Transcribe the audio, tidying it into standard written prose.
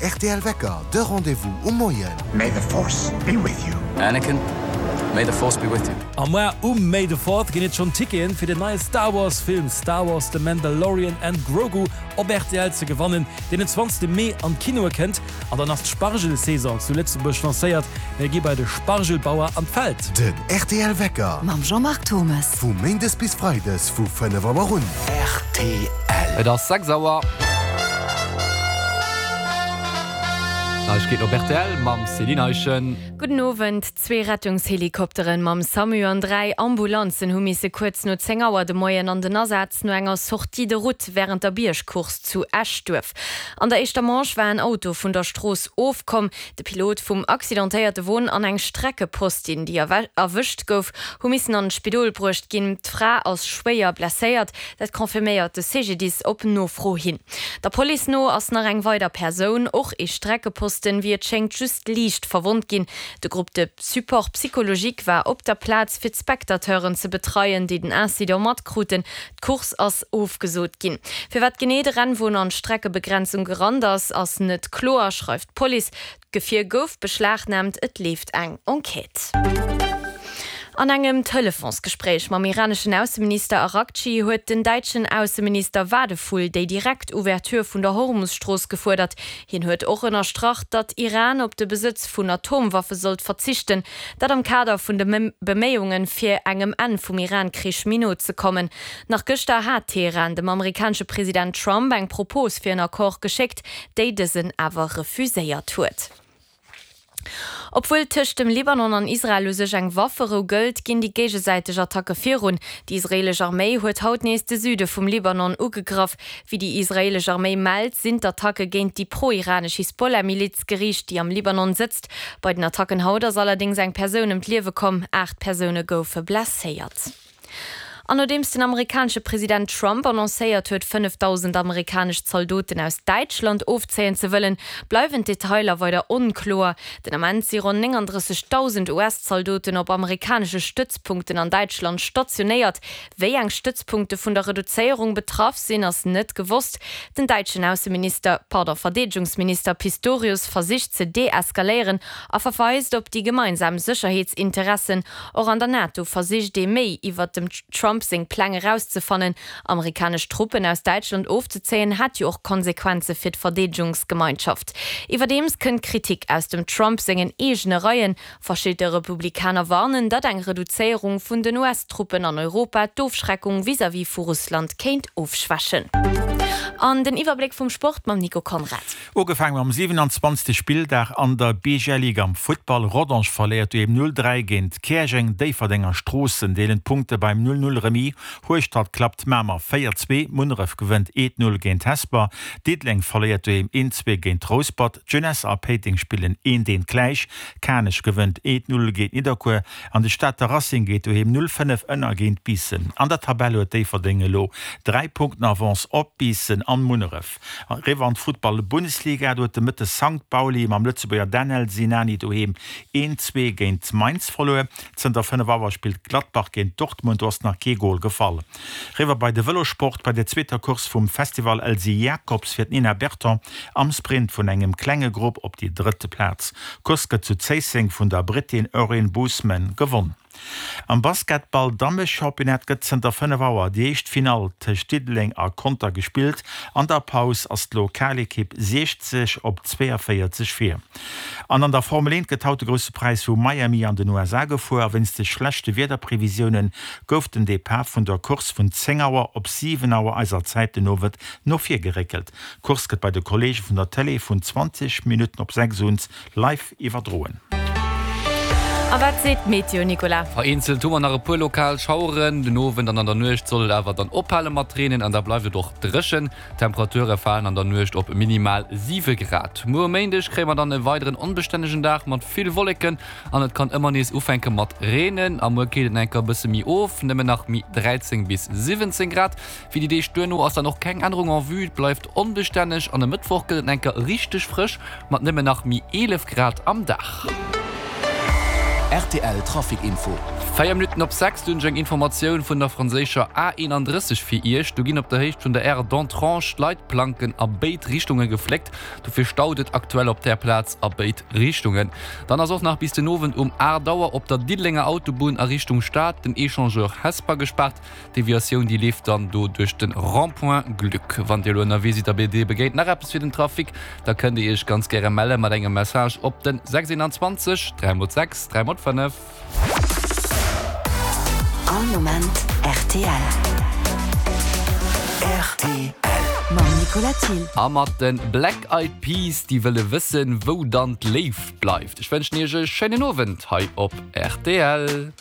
rtl Wecker, de Rendez-vous um Moien. May the Force be with you. Anakin, may the Force be with you. A muar um May the Fourth ginn et schonn Ticketen fir den neie Star Wars Film Star Wars, The Mandalorian and Grogu op rtl ze gewannen, deen den 20 Mee an d'Kinoe kënnt. An dann ass d'Spargelsaison zu Lëtzebuerg lancéiert. Mir gi bei de Spargelbauer an d'Feld. Den rtl Wecker. Mam Jean-Marc Thommes. Vu Méindes bis Freides vu 5 Auer un. Rtl. Et ass 6 Auer. Neiegkeeten op rtl mam Céline Eischen. Gudden Owend. Zwee Rettungshelikopteren mam Samu an 3 Ambulanzen hu misse kuerz no 10 Auer de Moien an den Asaz no enger Sortie de route wärend der Biergcourse zu Eschduerf. An der éischter Manche war en Auto vun der Strooss ofkomm. De Pilot vum accidentéierte Won an eng Streckepostin, déi erwëscht gouf, hu missen an d'Spidol bruecht ginn. D'Fra ass schwéier blesséiert, dat confirméiert de CGDIS op Nofro hin. Der Police no ass nach eng weider Persoun, och ee Streckeposten, wéi et schéngt just liicht verwonnt ginn. De Groupe de support psychologique war op der Plaz fir d'Spectateuren ze betreien, déi den Incident matkruten. D'Course ass ofgesot ginn. Firwat genee de Rennwon an d'Streckebegrenzung gerannt ass, ass net kloer, schreift d'Police. D'Gefier gouf beschlagnaamt, et leeft eng Enquête. An engem Telefonsgespréich mam iraneschen Ausseminister Araghchi huet den däitschen Ausseminister Wadephul déi direkt Ouverture vun der Hormus-Strooss gefuerdert. Hien huet och ënnerstrach, datt Iran op de Besëtz vun Atomwaffe sollt verzichten, dat am Kader vun de Beméiungen, fir engem Enn vum Iran-Krich méi no ze kommen. Nach gëschter hat Teheran dem amerikanesche President Trump eng Propos fir en Accord geschéckt, déi dësen awer refuséiert huet. Obwuel tëscht dem Libanon an Israel u sech eng Wafferou gëllt, ginn déi géigesäiteg Attacke virun. Déi israeelesch Arméi huet haut nees de Süde vum Libanon ugegraff. Wéi déi israeelesch Arméi mellt, sinn d'Attacke géint déi pro-iranesch Hisbollah-Miliz geriicht, déi am Libanon sëtzt. Bei den Attacken haut ass allerdéngs eng Persoun ëm d'Liewe komm, 8 Persoune goufe blesséiert. An nodeems den amerikanesche President Trump annoncéiert huet, 5.000 amerikanesch Zaldoten aus Däitschland ofzéien ze wëllen, bleiwen d'Detailer weider onkloer. Den Ament si ronn 39.000 US-Zaldoten op amerikanesche Stëtzpunkten an Däitschland stationéiert. Wéi eng Stëtzpunkte vun der Reduzéierung betraff sinn, ass net gewosst. Den däitschen Ausseminister, pardon, Verdeedegungsminister Pistorius versicht ze deeskaléieren a verweist op déi gemeinsam Sécherheetsinteressen. Och an der NATO versicht ee méi iwwert dem Trump seng Pläng erauszefannen. Amerikanesch Truppen aus Däitschland ofzezéien, hätt jo och Konsequenze fir d'Verdeedegungsgemeinschaft. Iwwerdeems kënnt Kritik aus dem Trump sengen eegene Reien. Verschidde Republikaner warnen, datt eng Reduzéierung vun den US-Truppen an Europa d'Ofschreckung vis-à-vis vu Russland kéint ofschwächen. An den Iwwerbléck vum Sport mam Nico Conrad. Ugefaangen mam 27. Spilldag an der BGL Ligue am Futtball. Rodange verléiert doheem 0, 3 géint Käerjeng, Déifferdeng a Stroossen deelen d'Punkte beim 0, 0 Remis. Hueschtert klappt Mamer 4, 2, Munneref gewënnt 1, 0 géint Hesper, Diddeleng verléiert doheem 1, 2 géint Rouspert, d'Jeunesse a Péiteng spillen 1, 1 gläich, Kanech gewënnt 1, 0 géint Nidderkuer an de Stater Racing geet doheem 0, 5 ënner géint Biissen. An der Tabell huet Déifferdeng elo 3 Punkten Avance op Biissen an Munneref. Eriwwer an d'Futtball-Bundesliga, do huet de Mëtte Sankt Pauli mam Lëtzebuerger Danel Sinani doheem 1, 2 géint Mainz verluer. Zënter 5 Auer spillt Gladbach géint Dortmund, do ass nach kee Gol gefall. Eriwwer bei de Vëlossport, bei der zweeter Course vum Festival Elsy Jacobs fiert d'Nina Berton am Sprint vun engem klenge Grupp op déi drëtte Plaz. D'Course gëtt zu Zéisseng vun der Brittin Erin Boosman gewonn. Am Basketball Dammechampionnat gëtt zënter 5 Auer déi éischt Finall tëscht Diddeleng a Conter gespillt. An der Paus ass d'Lokalekipp 60 op 42 vir. An an der Formel 1 gëtt haut de Grousse Präis vu Miami an den USA gefuer a wéinst de schlechte Wiederprevisioune gouf den Depart vun der Course vun 10 Auer op 7 Auer eiser Zäit den Owend no vir geréckelt. D'Course gëtt bei de Kolleege vun der Tëlee vun 20 Minutten op 6 un Live iwwerdroen. A wat seet d'Meteo, Nicolas? Vereenzelt hu mer nach e puer lokal Schaueren. Den Owend an an der Nuecht soll et awer dann ophale mat reenen an da bleift et och dréchen. D'Temperature falen an der Nuecht op minimal 7 Grad. Muer um Méindeg kréie mer dann e weideren onbestännegen Dag mat vill Wolleken an et kann ëmmer nees ufänke mat reenen. A muer killt et nach eng Kéier e bësse méi of, nëmmen nach méi 13 bis 17 Grad. Fir déi Deeg duerno ass dann och keng Ännerung en vue, et bleift onbestänneg an e Mëttwoch gëtt et enker richteg frësch mat nëmmen nach mi 11 Grad am Dag. Rtl Trafic Info. 4 Minutten op 6, do hunn ech eng Informatioun vun der franséischer A31 fir Iech. Do ginn op der Héicht vun der Aire d'Entrange d'Leitplanken a béid Richtunge gefléckt. Dofir staut et aktuell op där Plaz a béid Richtungen. Dann ass och nach bis den Owend um 8 Auer op der Diddelenger Autobunn a Richtung Stad den Echangeur Hesper gespaart. D'Deviatioun déi leeft dann do duerch de Rond-point Gluck. Wann Dir elo ënnerwee sidd a Dir begéint nach eppes fir den Trafic, da kënnt Dir Iech ganz gäre melle mat engem Message op den 6 21 3 x 6 3 x 5. All Moment rtl. Rtl. Mam Nicolas Thill. A mat de Black Eyed Peas, déi wëlle wëssen, wou dann d'Léift bleift. Ech wënschen Iech e schéinen Owend hei op rtl.